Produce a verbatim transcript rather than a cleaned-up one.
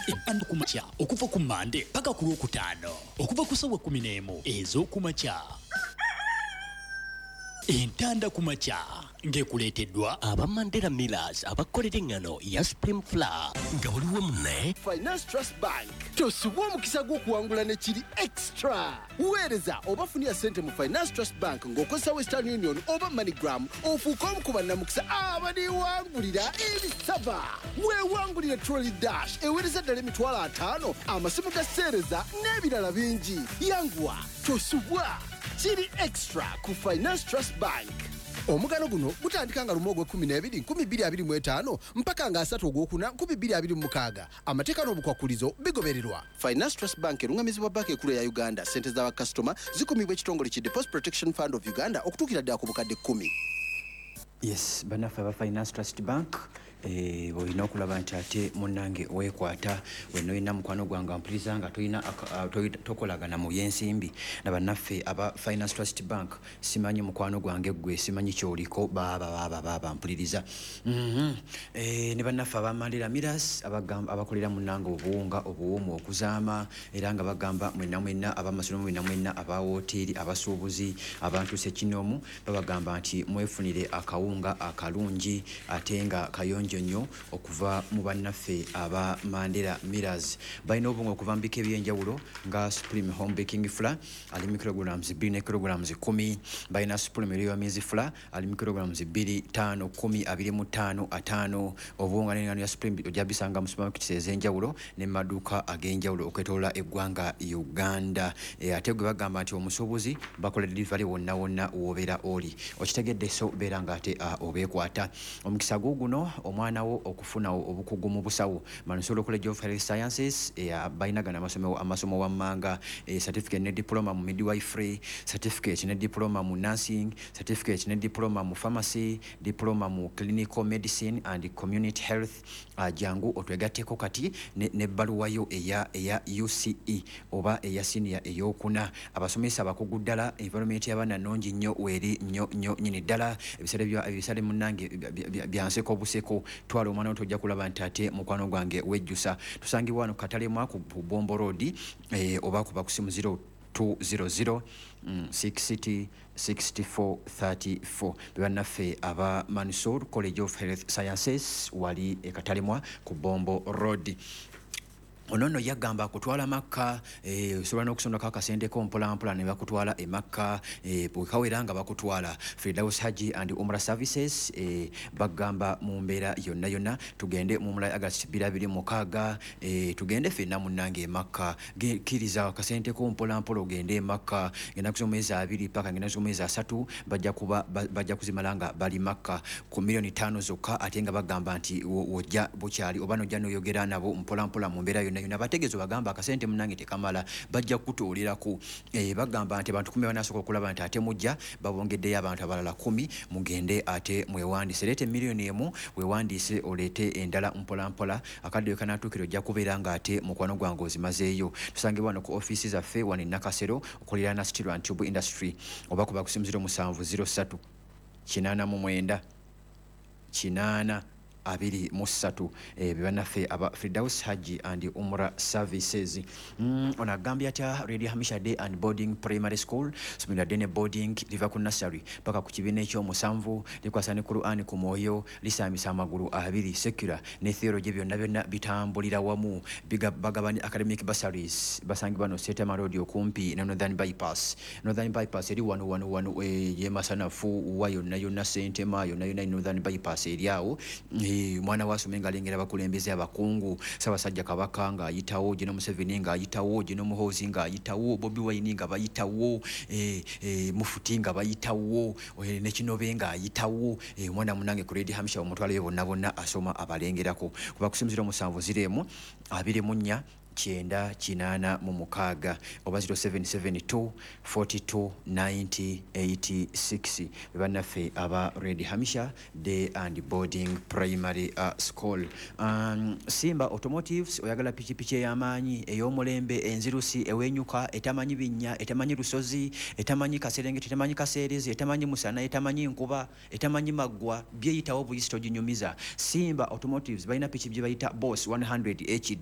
Entanda ku makya okuva ku Mande paka ku Lwokutaano okuva ku ssaawa kkumi n'emu ez'okumakya. Entanda ku makya ng'ekuleeteddwa aba Mandela Millers abakolera eŋŋano ya Supreme Flour nga buli wamu ne Finance Trust Bank. Tosubwa omukisa gw'okuwangula ne kiri extra. Weereza oba funira ssente mu Finance Trust Bank ng'okozesa Western Union oba MoneyGram, ofuuke omu ku bannamukisa abaliwangulira ebisaba. Weewangulire Trolley Dash eweereza ddala emitwalo ataano, amasimu ga seereza n'ebirala bingi. Yanguwa, tosubwa, kiri extra ku Finance Trust Bank. Omugano guno gutandika nga lumu ogw'ekkumi n'ebiri nkumi bbiri abiri mu etaano mpaka nga asatu ogwokuna nkumi bbiri abiri mu mukaaga. Amateeka n'obukwakulizo bigobererwa. Finance Trust Bank erungamizibwa Banka Ekulu eya Uganda. Ssente z'abakasitoma zikumibwa ekitongole ki Deposit Protection Fund of Uganda okutuukira ddala ku bukadde kkumi. Yes, bannaffe aba Finance Trust Bank, eh, olina okulaba nti ate munnange weekwata wenna. Olina mukwano gwange ampuliriza nga tolina aka- ah, toyi- tokolagana mu byensimbi na bannaffe aba Finance Trust Bank, simanyi mukwano gwange gwe, simanyi kyoliko. Baaba baaba baaba mpuliriza. Mhm. Eh, ne bannaffe aba Mandela Millers abagamba- abakolera munnange obuwunga obuwumu okuzaama, era nga bagamba mwenna mwenna abamasomero, mwenna mwenna aba woteeri, abasuubuzi, abantu sekinoomu, babagamba nti mwefunire akawunga akalungi ate nga kayonjo nnyo okuva mu bannaffe aba Mandela Millers. Balina obuwunga okuva mu bika ebyenjawulo nga Supreme Home Baking Flour ali mu kilograms bbiri ne kilograms kumi. Balina Supreme Royal Maize Flour ali mu kilograms bbiri, ttaano, kumi, abiri mu ttaano, ataano. Obuwunga n'engano ya Supreme ojja bisanga mu supermarkets ez'enjawulo ne mu maduuka ag'enjawulo okwetoloola eggwanga Uganda. E, ate gwe bagamba nti omusuubuzi, bakola delivery wonna wonna w'obeera oli. Okitegedde? So beera nga ate uh, obeekwata omukisa guuguno, omwana wo okufuna obukugu mu busawo. Mansour College of Health Sciences, eh, balina gano amasomo, amasomo wammanga: eh, certificate ne diploma mu midwifery, certificate ne diploma mu nursing, certificate ne diploma mu pharmacy, diploma mu clinical medicine and community health. uh, jangu otwegatteko kati nebbaluwa yo eya, eya U C E oba eya senior eyokuna. Abasomesa abakugu ddala, environment y'abaana nnungi nnyo, weeri nnyo nnyo nyini ddala. Ebisale ebisale munnange byanseko buseko. Twala omwana wo, tojja kulaba nti ate mukwano gwange wejjusa. Tusangibwa wano Katalemwa ku Bombo Road, eh, oba kuba ku simu zero two zero zero mm, sixty sixty-four thirty-four. Bebannaffe aba Mansur College of Health Sciences, wali ekatalemwa ku Bombo Road. Ono nno yagamba akutwala Makka. eh, osobola n'okusondako akasente ko mpolampola ne bakutwala e Makka, eh, bwekawera nga bakutwala. Firdaus Haji and Umra Services, eh, bagamba mu mbeera yonna yonna tugende mu Umra August twenty twenty-six. eh, tugende ffenna munnange e Makka. Kkiriza akasente ko mpolampola ogende e Makka. Ngenda z'omwezi abiri paka ngenda z'omwezi asatu, bajja kuba bajja kuzimala nga bali Makka ku miliyoni ttaano zokka. Ate nga bagamba nti wojja bukyali oba nojja noyogera nabo mpolampola mu mbeera yonna yonna. Bategeeza bagamba akasente munange tekamala, bajja kukutooleraku. e, bagamba nti abantu kumi banasooka okulaba nti ate mujja, babongeddeyo abantu abalala kumi. Mugende ate mwewandiise, leeta emiliyoni emu wewandiise, oleete endala mpolampola. Akadde we kanatuukira ojja kubeera nga ate mukwano gwange ozimazeeyo. Tusangibwa wano ku ofiisi zaffe wano e Nakasero okuliraana Steel and Tube Industry, oba kuba ku simu zero seven zero three eight nine eight abiri mu ssatu. eh, bebannaffe aba Firdaus Haji and Umra Services. mm, ono agambye atya? Radio Hamisha Day and Boarding Primary School, somero ddene boarding, liva ku nursery paka ku kibiina ekyomusanvu, likwasa ne Quran ku mwoyo, lisaamisa amagulu abiri. Secular ne theology byonna byonna bitambulira wamu. Bagabanya academic bursaries. Basangibwa no Setama Road okumpi ne Northern Bypass. Northern Bypass eri wano wano wano, eh, yemasanafu wa yonna yonna, Sentema yonna yonna, Northern Bypass eri awo. eh, mwana wasome nga alengera abakulembeze abakungu, Ssaabasajja Kabaka ng'ayitawo, Geno Museveni ng'ayitawo, Geno Muhoozi ng'ayitawo, Bobi Wine nga bayitawo, eh, eh, Mufuti nga bayitawo, eh, ne Kinobe ng'ayitawo. eh, omwana munange ku Lady Hamisha omutwalayo bonna bonna, asoma abalengerako. Kuba ku simu zero seven zero twenty-four kyenda kinaana mu mukaaga oba zero seven seven two forty-two ninety eighty-six. Bebannaffe aba Red Hamisha Day and Boarding Primary uh, School. um, simba Automotives, oyagala pikipiki ey'amaanyi, ey'omulembe, enzirusi, ewenyuka, etamanyi binnya, etamanyi lusozi, etamanyi kaserengeti, etamanyi kaseerezi, etamanyi musana, etamanyi nkuba, etamanyi maggwa, byeyitawo buyisi, toginyumiza. Simba Automotives balina piki gye bayita Boss one hundred H D.